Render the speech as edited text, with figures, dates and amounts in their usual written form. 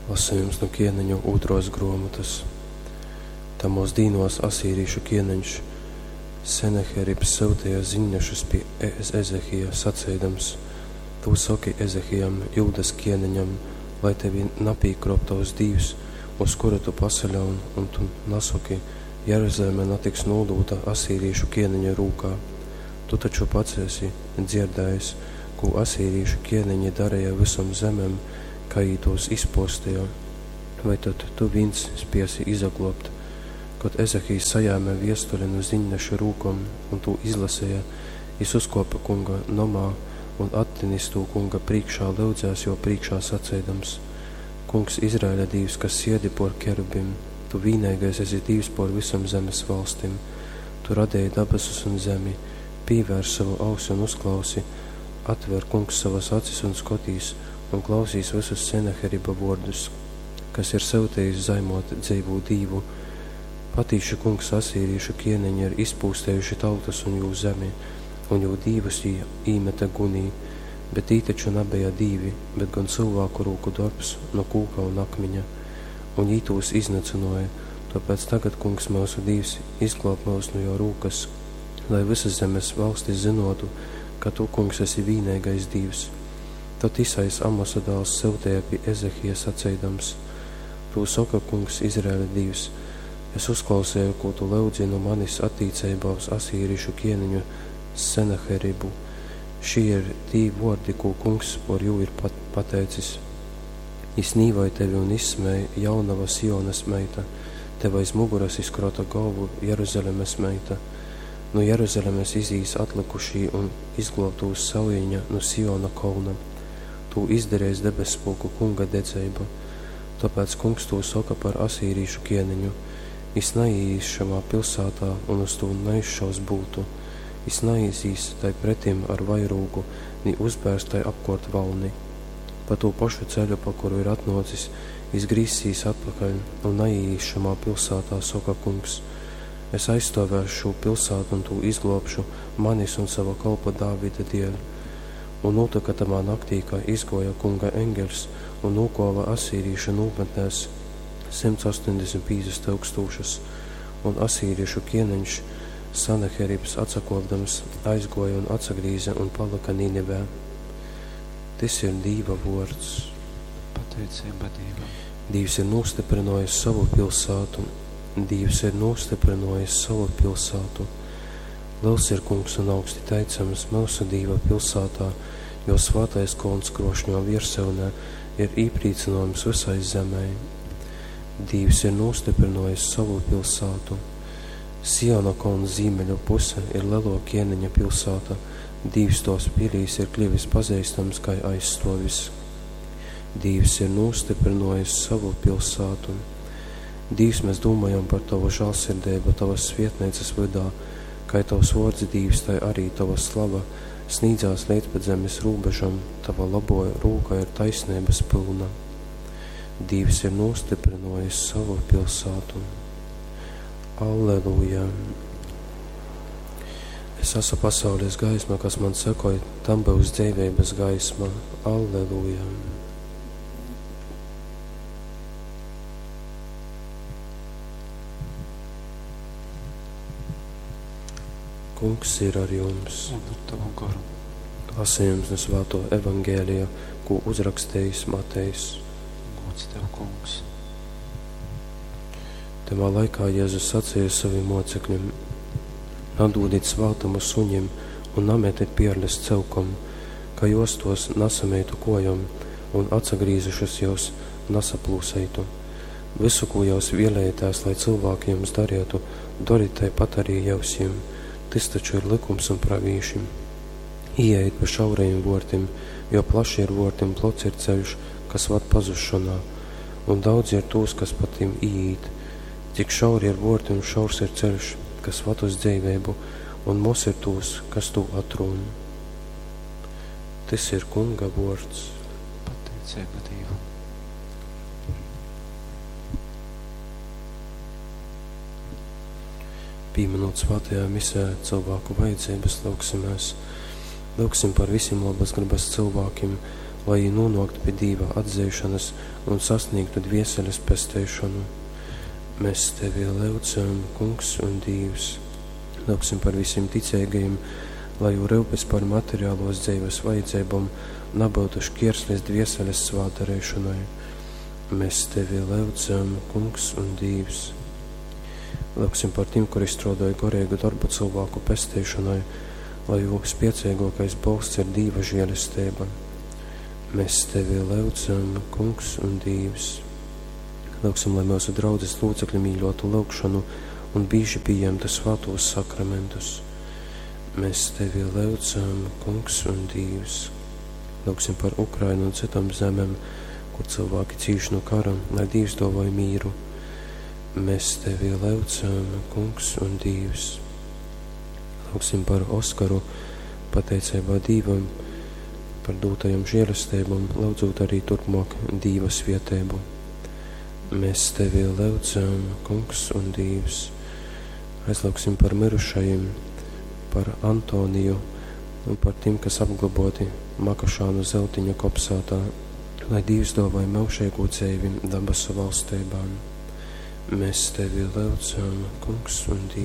Lasejums nu Kieneņu ūtruos gruomotys. Tamuos dīnuos asīrīšu kieneņš Seneheribs syuteja ziņnešus pi Ezehija, saceidams, Tū soki Ezehijam, Jūdas kieneņam, lai tevi napīkruop tovs dīvs, uz kuru tu pasaļaun, un tu nasoki, Jeruzaleme natiks nūdūta asīrīšu kieneņa rūkā. Tu taču pats esi dzierdējis, kū asīrīšu kieneņi dareja vysom zemem, kai jī tōs izpōsteja. Vai tod tu vīns spiesi izagluobt? Kod Ezehijs sajēme viestuli nu ziņnešu rūkom un tū izlaseja, jis uzkuope Kunga nomā un, attinis tū Kunga prīškā, lyudzēs juo prīškā, saceidams, Kungs, Izraeļa Dīvs, kas siedi puor kerubim, tu vīneigais esi Dīvs puor vysom zemes valstim. Tu radeji dabasus un zemi. Pīvērs sovu ausi un uzklausi, atver, Kungs, sovas acis un skotīs, un klausīs vysus Senaheriba vuordus, kas ir syutejis zaimot dzeivū Dīvu. Patīši, Kungs, asīrīšu kieneņi ir izpūstejuši tautas un jū zemi, un jū dīvus jī īmete gunī, bet tī taču nabeja dīvi, bet gon cylvāku rūku dorbs nu kūka un akmiņa, un jī tūs iznycynuoja. Tōpēc tagad, Kungs, myusu Dīvs, izglōb myus nu jō rūkas, lai vysas zemes valstis zynōtu, ka tu, Kungs, esi vīneigais Dīvs. Tod Isajs, Amosa dāls, syuteja pi Ezehija, saceidams, Tū soka Kungs, Izraeļa Dīvs, Es uzklauseju, kū tu lyudzi nu manis attīceibā uz asīrišu kieneņu Senaheribu. Šī ir tī vuordi, kū Kungs por jū ir pateicis. Jis nīvoj tevi un izsmej, jaunova Sionas meita, tev aiz muguras izkrota golvu Jeruzalemes meita. Nu Jeruzalemes izīs atlykušī un izgluobtūs saujiņa nu Siona kolna. Tū izdareis debesspulku Kunga dedzeiba. Tōpēc Kungs tū soka par asīrīšu kieneņu. Jis naīīs šamā pilsātā un uz tū naizšaus bultu. Jis naizīs tai pretim ar vairūgu, ni uzbērs tai apkōrt valni. Pa tū pašu ceļu, pa kuru ir atnōcis, jis grīzsīs atpakaļ un naīīs šamā pilsātā, soka Kungs. Es aizstōvēšu šū pilsātu un tū izglōbšu manis un sova kolpa Dāvida dieļ. Un nūtyka tamā naktī, ka izgōja Kunga engeļs un nūkova asīrīšu nūmetnēs 185 tyukstūšas, un asīriešu kieneņš Sanaheribs atsakōpdams aizgōja un atsagrīze un palyka Ninivē. Tys ir Dīva vōrds. Pateiceiba Dīvam. Dīvs ir nūstyprynōjis sovu pilsātu, Dīvs ir nūstyprynōjis sovu pilsātu. Lels ir Kungs un augsti teicams myusu Dīva pilsātā, jo svātais kolns krošņo viersyunē ir īprīcynōjums vysai zemei. Dīvs ir nūstyprynōjis sovu pilsātu. Siona kolna zīmeļu puse ir lelō kieneņa pilsāta, Dīvs tōs pilīs ir kļuvis pazeistams kai aizstōvis. Dīvs ir nūstyprynōjis sovu pilsātu. Dīvs, mēs dūmojam par Tovu žālsirdeibu Tovas svietneicas vydā, kai Tovs vōrds, Dīvs, tai arī Tova slava snīdzās leidz pat zemes rūbežam, Tova labo rūka ir taisneibas pylna. Dīvs ir nūstyprynōjis sovu pilsātu. Alleluja! Es esmu pasaules gaisma, kas man sekoj, tam būs dzeiveibas gaisma. Alleluja! Kungs ir ar jums. Un ar tavu goru. Lasījums no Svēto Evangēlija, ko uzrakstījis Matejs. Gods tev, Kungs. Tamā laikā Jēzus sacīja saviem mocekļiem: Nadūdit svātumu suņim un nametit pierles celkom, ka jos tos nasameitu kojom un atsagrīzušas jūs nasaplūseitu. Visu, ko jūs vēlējāties, lai cilvēki jums darītu, dariet taipat arī jūs jiem. Tys taču ir likums un pravīši. Ieejiet pa šaurajiem vortim, jo plaši ir vorti un plots ir ceļš, kas vad pazušanā, un daudzi ir tūs, kas pa tiem ieit. Cik šauri ir vorti un šaurs ir ceļš, kas vad uz dzeiveibu, un moz ir tūs, kas tū atrūn. Tys ir Kunga vords. Pateiceiba Dīvam. Pīminot svētajā misē cilvēku vajadzības, lūgsimies. Lūgsim par visiem labas gribas cilvēkiem, lai jī nūnōktu pi Dīva atzeišonas un sasnīgtu dvieseles pesteišonu. Mēs Tevi lyudzam, Kungs un Dīvs. Lyugsim par visim ticeigajim, lai jū ryupes par materiālos dzeives vajadzeibom nabyutu škierslis dvieseles svātdareišonai. Mēs Tevi lyudzam, Kungs un Dīvs. Lyugsim par tim, kuri strōdoj goreigu darbu cylvāku pesteišonai, lai jū spieceigōkais bolsts ir Dīva žielesteiba. Mēs Tevi lyudzam, Kungs un Dīvs. Lyugsim, lai myusu draudzes lūcekļi mīļotu lyugšonu un bīži pījemtu svātūs sakramentus. Mēs Tevi lyudzam, Kungs un Dīvs. Lyugsim par Ukrainu un cytom zemem, kur cilvēki cīš no kara, lai Dīvs dōvoj mīru. Mēs Tevi lyudzam, Kungs un Dīvs. Lūgsim par Oskaru, pateiceibā Dīvam par dūtajom žēlesteibom, lyudzūt arī turpmāk Dīva svieteibu. Mēs Tevi lyudzam, Kungs un Dīvs. Aizlūgsim par mirušajiem, par Antoniju un par tiem, kas apglaboti Makašānu zeltiņa kopsātā, lai Dīvs dāvāj myužīgu dzeivi dabasu valstībā. Mēs Tevi lyudzam, Kungs un Dīvs.